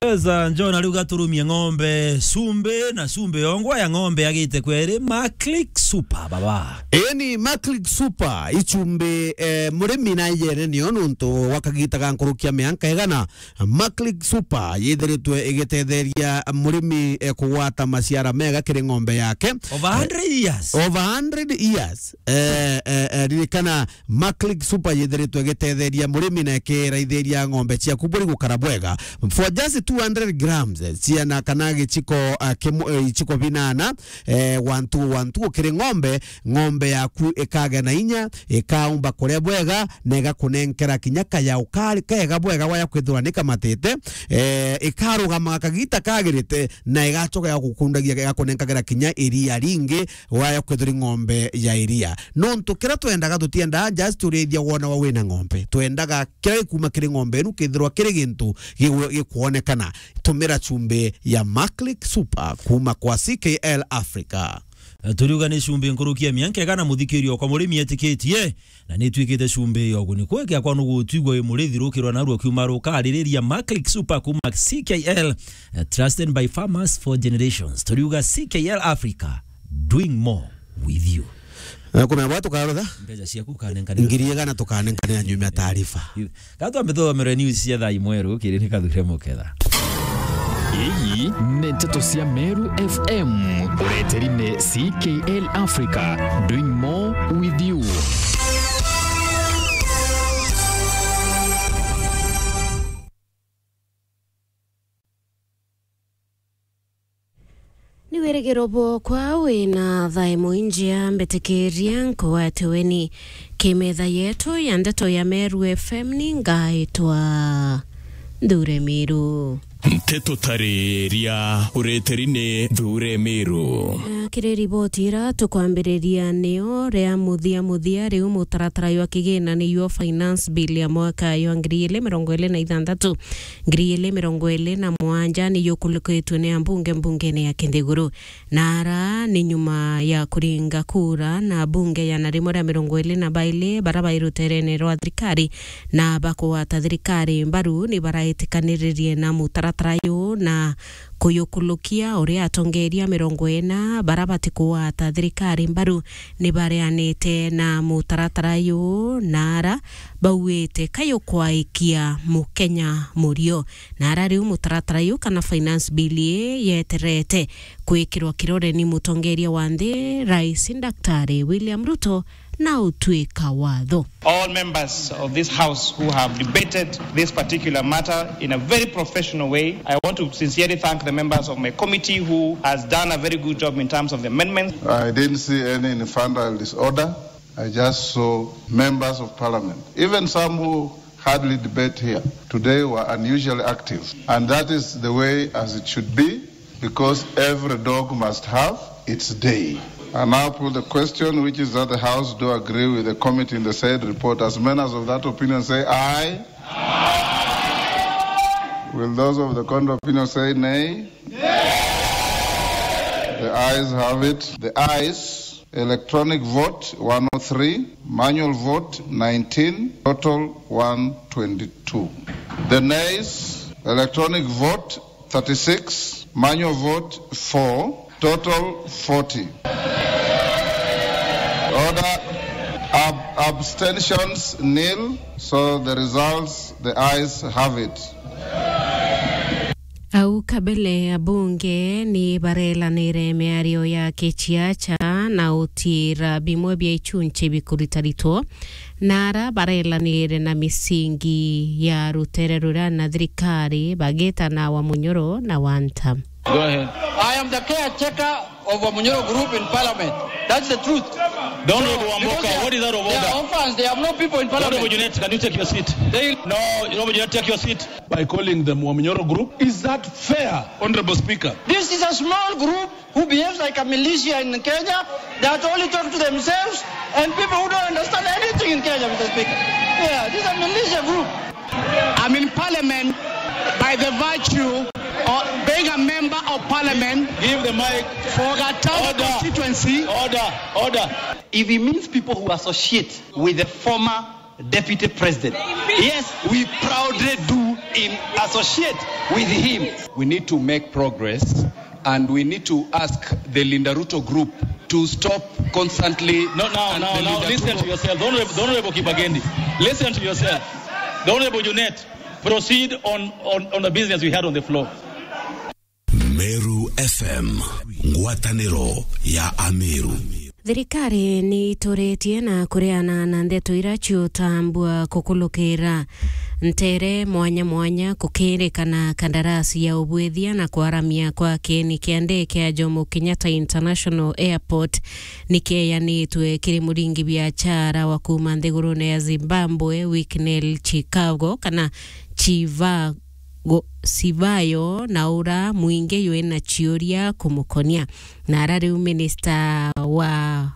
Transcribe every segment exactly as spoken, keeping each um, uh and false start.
Yes, uh, John ariuga turumie ng'ombe cumbi na cumbi yongwa ya ng'ombe agite kweri Maclick Super, baba. Eni Maclick Super, icumbi, eh, murimi na yene nio nuntu wa kagita ga nkurukia mianka igana. Maclick Super yithiritwe igitetheria murimi, eh, kugwata maciara mega kiri ng'ombe yake. Over hundred years. Over hundred years. Eh, eh, eh, ririkana Maclick Super yithiritwe igitetheria murimi na ikiraithiria ng'ombe ciaku buri gukara bwega. For just two hundred grams, eh, ciana kana gichiko, ah, kimu-, eh, ichiko binana, eh, one two one two kiri ng'ombe, ng'ombe yaku ikagia na inya, ikaumba kuria bwega, na igakunenkera kinya kayau kari kega bwega waya kwithirwa ni kamatite, eh, ikarugamaga kagita kagirite, na igachoka ya gukundagia, igakunenkagira kinya iria ringi, waya kwithirwa ng'ombe ya iria. Nontu kiria twendaga, tutiendaga just urithia wona wa wina ng'ombe. Twendaga kiria gikuma kiri ng'ombe inu kithirwa kiri gintu gigwe-, gikwonekana. Tumira chumbi ya Maclick Super kuma kwa C K L Africa. Turiuga ni chumbi nkuruki ya mianka igana, muthikiria okwa murimi etikitie, na ni itwikite chumbi ya uguni. Kweke akwa nugutwigua wi murithi rukirwa narua kiuma rukaririria. Maclick Super kuma C K L, eh, trusted by farmers for generations. Turiuga C K L Africa, doing more with you. Na kuna bwa tukarotha? Mbeca ciaku ukanenkanira. Ngiri igana tukanenkanira nyuma ya taarifa. Yu-, ka twambe tuthomere news cia thaa imwe rukiri ni Kathure Muketha. Ii ni nteto cia Meru F M, ureteri ni C K L Africa, doing more with you. Ni wirigiro bwokwa wina thaa imwe injia, mbitikiria nkugwate weni kimetha yetu ya ndeto ya Meru F M. Ni ngaitwa Nthure Miru. Nteto tariria ureteri ni Nthure Miru. Na kiri riboti ira tukwambiriria nio ria muthia muthia, riu mutaratara jwa kigina ni jwa Finance Bill ya mwaka jwa ngiri ili mirongo ili na ithanthatu, ngiri ili mirongo ili na mugwanja ni jukulukitwe ni ambunge mbungene ya Kinthiguru. Na ara ni nyuma ya kuringa kura na bunge ya na rimwe ria mirongo ili na baili bara bai ruterene rwa thirikari na bakugwata thirikari mbaru ni baraitikaniririe na mutaratara uyu na kuyukulukia uria atongeria mirongo ina bara batikugwata thirikari mbaru ni bareanite na mutaratara uyu na ara bauite kayukwaikia Mukenya murio. Na ara riu mutaratara uyu kana Finance Bill ii yeterete kwikirwa kirore ni mutongeria wa nthi, Rais Daktari William Ruto, na utwika watho. All members of this House who have debated this particular matter in a very professional way, I want to sincerely thank the members of my committee who has done a very good job in terms of the amendments. I didn't see any infantile disorder. I just saw members of parliament, even some who hardly debate here today, were unusually active. And that is the way as it should be, because every dog must have its day. I now put the question, which is that the House do agree with the committee in the said report. As many as of that opinion say aye. Will those of the contrary opinion say nay? The ayes have it. The ayes. Electronic vote, one oh three, manual vote, nineteen, total, one twenty-two. The nays, electronic vote, thirty-six, manual vote, four, total, forty. Order, ab-, abstentions, nil, so the results, the ayes have it. Au kabele, abunge ni barelanire miario ya kiciaca na utiira bimwe bia ichunchi bikuritaritwo, na ara barelanire na misingi ya rutere ruria na thirikari bagitana wa Munyoro na Wanta. Go ahead. I am the caretaker of Wamunyoro group in parliament. That's the truth. Don't hold Wamboka. Because they are, what is out of order? They are orphans. They have no people in parliament. Honorable Junet, can you take your seat? They... No, Honorable Junet, take your seat. By calling them Wamunyoro group. Is that fair, Honorable Speaker? This is a small group who behaves like a militia in Kenya that only talk to themselves and people who don't understand anything in Kenya, Mister Speaker. Yeah, this is a militia group. I'm in parliament by the virtue of being a member of parliament. Give the mic. For Gatanga constituency. Order, order. If he means people who associate with the former deputy president, yes, we proudly do in associate with him. We need to make progress and we need to ask the Linda Ruto group to stop constantly. No, now, and now, the now, Linda listen Ruto to yourself. The Honorable, the Honorable Kibagendi, listen to yourself. The Honorable Junet, proceed on, on, on the business we had on the floor. Meru F M, ngwatanĩro ya Ameru. Thirikari ni ituritie na kureana na ndeto ira ciutambua kukulukira ntere mwanya mwanya kukirikana kandarasi ya ubwithia na kwaramia kwa kieni kia ndege kia Jomo Kenyatta International Airport ni kieyanitwe kiri muringi biachara wa kuma nthigurune ya Zimbabwe, Wicknell Chicago, kana Chiva- go-, Sivayo, na ura mwingi ywi na ciuria kumukonia. Na ara riu minista wa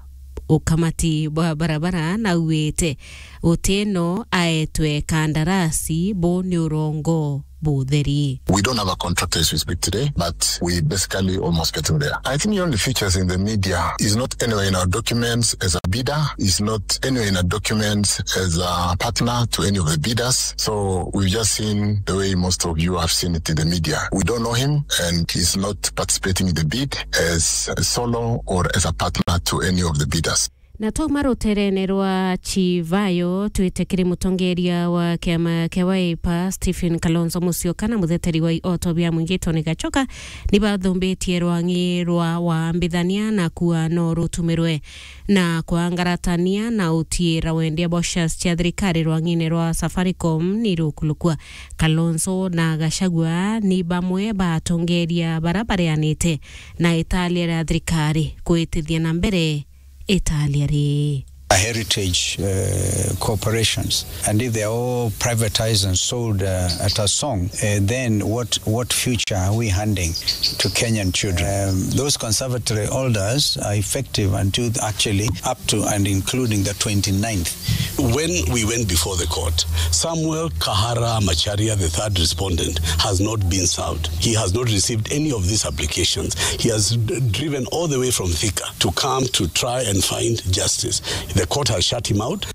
ukamati bwa barabara nauite gutino aetwe kandarasi, bu ni urongo butheri. We don't have a contractor as we speak today, but we basically almost getting there. I think he only features in the media. He's not anywhere in our documents as a bidder. He's not anywhere in our documents as a partner to any of the bidders. So we've just seen the way most of you have seen it in the media. We don't know him, and he's not participating in the bid as a solo or as a partner to any of the bidders. Na twauma ruterene rwa Chivayo, twite kiri mutongeria wa kiama kia Wiper, Stephen Kalonzo Musyoka, na mutheteri wa ioto bia mwingi Tony Gachoka, ni bathumbitie rwang'i rwa waambithania na kuuga no rutumirwe na kwangaratania na utiira wendia bwa shares cia thirikari rwang'ine rwa Safaricom ni rukulukua. Kalonzo na Gachagua ni bamwe ba atongeria bara bareanite na italia ria thirikari kuitithia na mbere italia ri. A heritage, uh, corporations, and if they are all privatized and sold, uh, at a song, uh, then what, what future are we handing to Kenyan children? Um, those conservatory orders are effective until actually up to and including the twenty-ninth. When we went before the court, Samuel Kahara Macharia, the third respondent, has not been served. He has not received any of these applications. He has d-, driven all the way from Thika to come to try and find justice. The court has shut him out.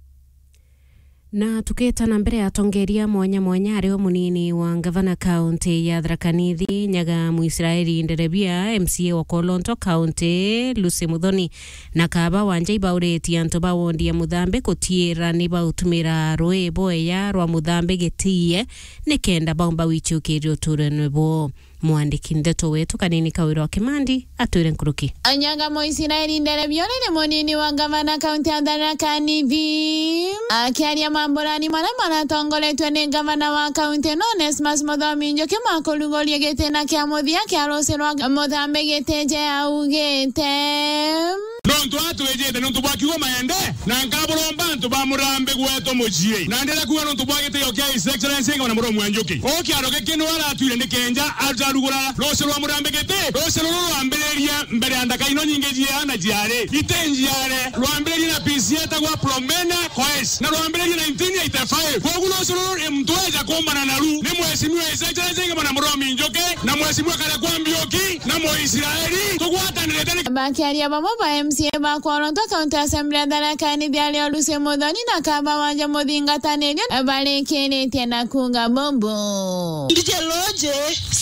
Na tukita na mbere, atongeria mwanya mwanya, ari o munini wa ngavana kaunti ya Tharaka Nithi, Nyaga Mwisraeli Nderebia, M C A wa Kolonto County, Lucy Muthoni, na Kaaba Wanjai bauritie antu ba wondi ya Muthambi kutiira ni bautumira rui bweya rwa Muthambi gitiie, nikenda baumba wichukiria uturene bwao. Mwandiki ndeto wetu Kanini Kawira wa Kimandi atwire nkuruki. Anyaga Mwisraeli Nderebia ni munini wa ngavana kaunti ya Tharaka Nithi. Akiaria mamburani maria maratongoretwe ni ngavana wa kaunti ino Onesmus Muthomi Njuki ma kuruguria gitina kia muthia kia ruci rwa Muthambi gitije augite. Nontu atwijite nontu bwa kiugo maende, na nkaburomba antu ba Murambi gwetu mucii. Na ndira kuuga nontu bwa gitio kia His Excellency Ngavana Muthomi wa Njuki. Uu kiaro giki niwe aratwire ni kenja arugura ruci rwa Murambi giti, ruci ruru rwambiriria mbere ya ndaka ino nyingi jiaana jiari. Iti njiare, rwambiririe na P C etagwa Philomena Koech, na rwambiririe nineteen eighty-five. Kwogu ruci ruru muntu eja kuumbana naru ni Mheshimiwa His Excellency Ngavana Muthomi Njuki na Mheshimiwa Karua Mbiuki na Muisraeli. Tugwatanirite ni. Bakiaria bamwe ba M C A ba Kolonto County Assembly ya Tharaka Nithi ario Lucy Muthoni na Kaaba Wanjai muthingatanirio barikiritie na kuuga bubu. Ndije loje,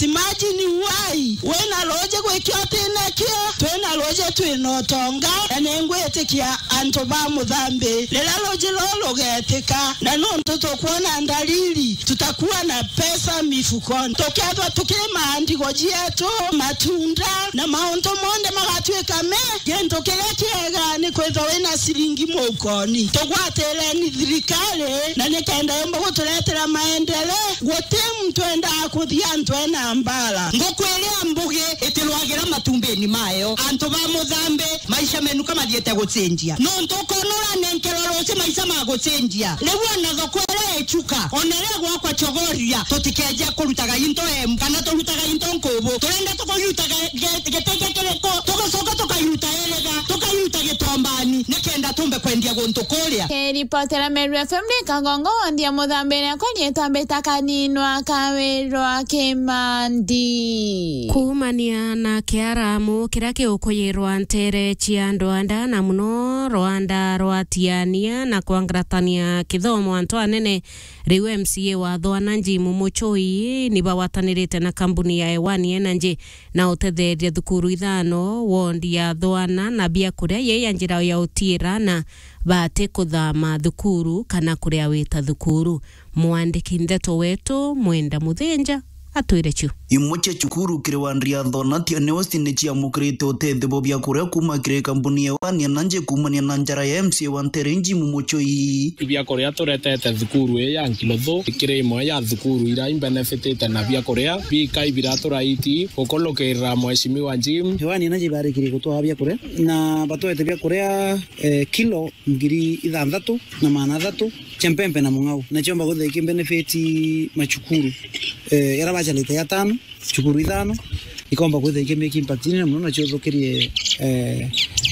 imagine why. Wina loje gwikia utinakio, twina loje twina utonga, na ningwitikia antu ba Muthambi. Riria loje ruru rugetika, na nontu tukwona ndariri, tutakuwa na pesa mifukoni. Tukethwa tukirima ndigo cietu, matunda, na mauntu monthe magatuika me gintu kiria kiega ni kwithwa wina ciringi mukoni. Tugwatireni thirikari na nikenda yumba guturetera maendeleo. Guti muntu endaa kuthia antu ena mbara. Nguku iria mbugi itirwagira matumbini mayo. Antu ba Muthambi, maisha menu kamathiite gucenjia. Nontu ukona uranenkerwa ruci maisha magucenjia. Riu ona thoko iria ichuka, ona iria gwakwa Chogoria, tutikeje kurutaga into emu, kana turutaga into nkubu. Turenda tukayutaga ge-, gitege kiriku, tugacoka tukayuta iriga, tukayuta gitombani, nikenda tumbe Endia guntu kuria. Kiripotera Meru F M ni Kagongo, wandi ya Muthambire, akwa riitwa mbita Kaninwa Kawirwa Kimandi. Kuumania na kiaramu kiria kiukuyirwa nteere cia Rwanda, na muno Rwanda rwa Tiania na kwangaratania kithomo antu anene, riu M C A wa Thwana Jim Muchoi ni bagwatanirite na kambuni ya Ewani Energy na utetheeria thukuru ithano, wondi ya Thwana na biakuria yii ya njira ya utiira na bati kuthama thukuru kana kuria wita thukuru. Mwandiki ndeto wetu Mwenda Muthinja atwire cio. Imwe cia cukuru kiri wandi ya Thona Tiania West ni ciamukirite utethio bwa biakuria kuuma kiri kambuni ya Ewani Energy kuumania na njara ya M C A wa nteere Jim Muchoi. Biakuria turetete thukuru ii ya Nkiluthu kiri imwe ya thukuru iria imbenefitite na biakuria bikai biraturaiti gukulukirira Mheshimiwa Jim. Ewani Energy barikirie gutwaa biakuria na batwete biakuria, eh, kilo ngiri ithanthatu na maana athatu cia mpempe na mung'au, na ciomba kwithira ikimbenefiti macukuru, eh, yaria bacarite ya tano, cukuru ithano, ikomba kwithira ikimake impact nene muno, na ciuthukirie, eh,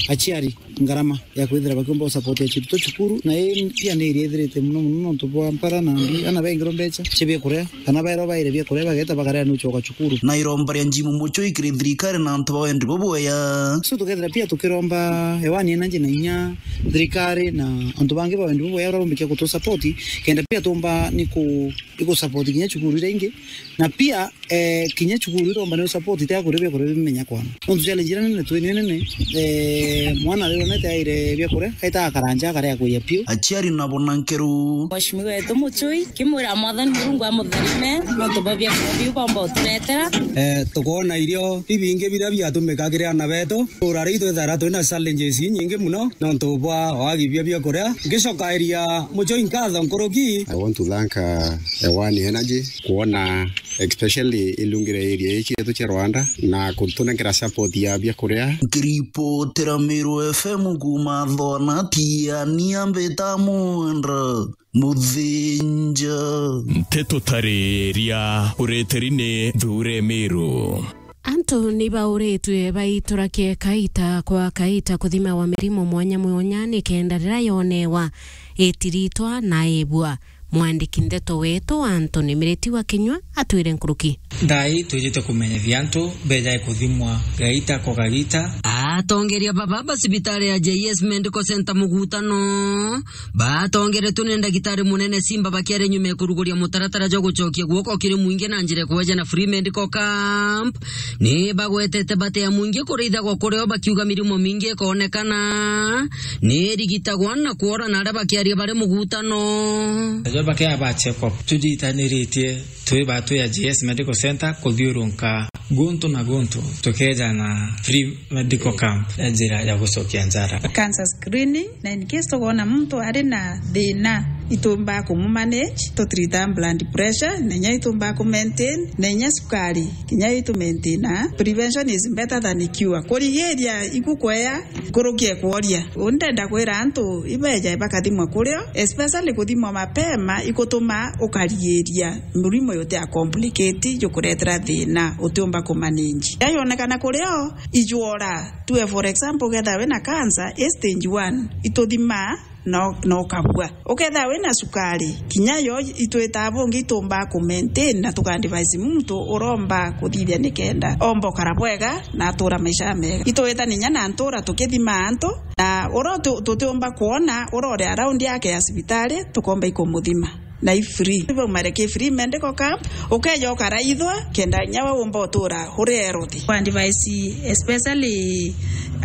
aciari ngarama ya kwithira bakiumba gusupport aciari to cukuru, na ii pia ni iria ithirite muno muno nontu bwa mpara na mbi, ana bengirwe mbeca cia biakuria, kana baerwa baire biakuria bageta bakaria ni ucoka cukuru. Na iromba ria Jim Muchoi kiri thirikari na antu ba wendi bubwega. So tukethira pia tukiromba Ewani Energy na inya thirikari na antu bangi ba wendi bubwega baria barumbikia gutu support, kenda pia tumba ni ku, ni ku support kinya cukuru iria ingi, na pia, eh, kinya cukuru iromba ni support tia kuria biakuria bimenya kwana. Nontu challenge iria nene twinio nene, eh, mwana rironete aire biakuria, aita akaranja akaria kuya piu. Aciari nabo na nkeru. Mheshimiwa wetu Muchoi, kimwira Mwathani Murungu amutharime, nontu bwa biakuria biu bomba uturetera. Eh, tukoona irio ibingi biria biatumika kiri ana betu. Ura ri twithara twina challenges inyingi muno, nontu bwa wagi bia biakuria. Ngicokairia Muchoi nkatho nkuruki. I want to thank, uh, Ewani Energy, kuona especially ilungire area ii cietu cia Rwanda na kutunenkera support ya biakuria. Nkiripotera Meru F M kuuma Thona Tiania mbita Mwenda Muthinja. Nteto tariria ureteri ni Thure Meru. Antu ni bauritwe baiturakie kaita kwa kaita kuthimawa mirimo mwanya mwanya, nikenda riria yonewa itiritwa na ibua. Mwandiki ndeto wetu Anthony Miriti wa Kinyua atwire nkuruki. Thaa ii twijite kumenyithia antu bejae kuthimwa gaita kwa gaita. Atongeria baba ba cibitari ya J S Medical Center Mugutano batongeretwe ni ndagitari munene Simba bakiaria nyuma ya kuruguria mutaratara jwa gucokia guoko kiri mwingi na njira ya kueja na free medical camp. Ni bagwetete bati ya mwingi kurithagwa kurio, bakiuga mirimo mingi ikonekana ni irigitagwa na kuora na aria bakiaria bari Mugutano. Ajo bakia ba check up tujitaniritie twi batu ya J S Medical Center kuthiurunka guntu na guntu tukeja na free medical camp ya njira ya gucokia njara. Cancer screening, na in case tukoona muntu ari na thina, itumbaa kumumanage, tutrita blood pressure, na inya itumbaa kumaintain, na inya sukari, kinya itumaintaina. Prevention is better than cure. Kurigiria ikukwea nkuruki e kworia. Uu ndenda kwira antu ibeja bakathimwa kurio, especially kuthimwa mapema ikutuma ukarigiria murimo uti a complicate jukuretera thina utiumba kumanage. Yayonekana kurio, ijwora. Tue for example, ukethira wina cancer, i stage one, ituthimaa na, na ukabua. Ukethira wina sukari, kinya yo itwitaa bungi itumbaa ku maintain na tuka advise muntu uromba kuthithia nikenda omba ukara bwega na atura maisha mega. Itwita ninya na ntura tukithimaa antu, na uria tu-, tutiumba kwona uria uri around yake ya cibitari, tukomba ikumuthima. Na i free. Baumare ki free medical camp, ukeja ukaraithwa, kenda inya we umba utura uri healthy. Kwa advice, especially,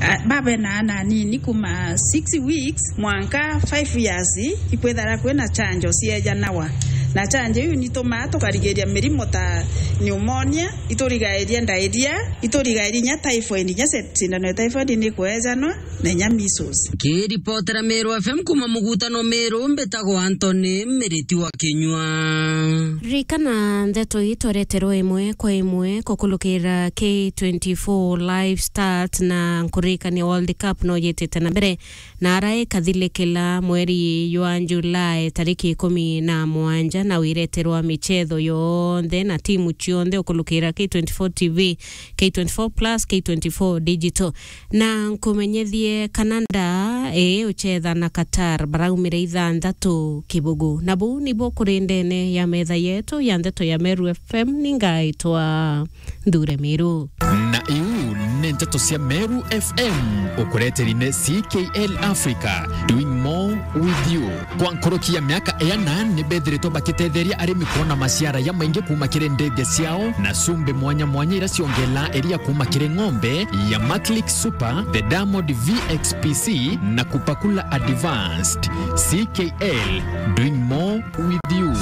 ah, babe na ana anini kuma six weeks mwanka five years, ikwithara kwina chanjo ciejanawa. Na chanjo iu nitumaa tukarigiria mirimo ta pneumonia, iturigairia diarrhea, iturigairia inya typhoid, inya se-, sindano ya typhoid ni kwejanwa. Na inya measles. Nkiripotera Meru F M kuma Mugutano Meru, mbitagwa Anthony Miriti wa Kinyua. Ririkana ndeto ii twereterwe imwe kwa imwe kukulukira K twenty-four live start, na nkuririkania World Cup no yitite na mbere, na ara ikathilikila mweri jwa July tariki ikumi na mugwanja, na wireterwa michetho yonthe na timu cionthe ukulukira K twenty-four T V, K twenty-four plus, K twenty-four digital. Na nkumenyethie kana nda ii ucetha na Qatar baraumire ithanthatu kibugu. Na buu nibu kuri ndene ya metha yetu ya ndeto ya Meru F M, ni ngaitwa Nthure Miru. Na iu ni nteto cia Meru F M, ukureteri ni C K L Africa, doing more with you. Kwa nkuruki ya miaka iana ni bethiritwe bakitetheria arimi kwona maciara jamaingi kuuma kiri ndege ciao na cumbi mwanya mwanya iria ciongela iria kuuma kiri ng'ombe ya Maclick Super, the Diamond V X P C na Kupakula Advanced. C K L, doing more with you.